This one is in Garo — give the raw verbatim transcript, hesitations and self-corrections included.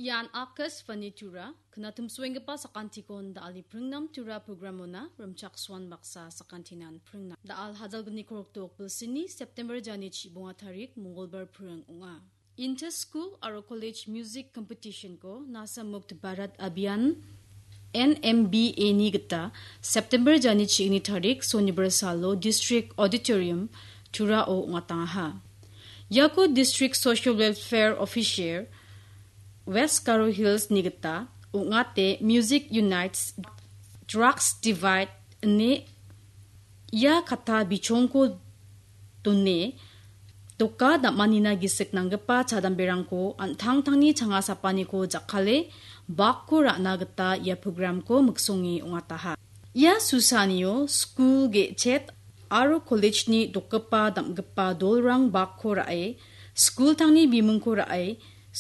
Ian Akashvani Tura, knatumsuenggipa sakantikon da·ali pringnam Tura programona rimchaksoan baksa sakantinan pringna. Da·al hajalgni korokdok bilsini September jani chibonga tarik Mongolbar pring ong·a. Inter-school aro college music competition-ko Nasha Mukt Bharat Abhiyan, N M B A-ni gita September jani chigni tarik Sonibar salo District Auditorium Turao ong·atangaha. Iako District Social Welfare Officer West Garo Hills-ni gita ong·ate Music Unites, Drugs Divide ine ia kata bichongko done doka dam·anina gisik nanggipa chadamberangko an·tangtangni changa sapaniko jakkale bakko ra·na gita ia programko miksonge ong·ataha. Ia susanio skul ge·chet aro college-ni dokgipa dam·gipa dolrang bakko ra·e, skultangni bimingko ra·e,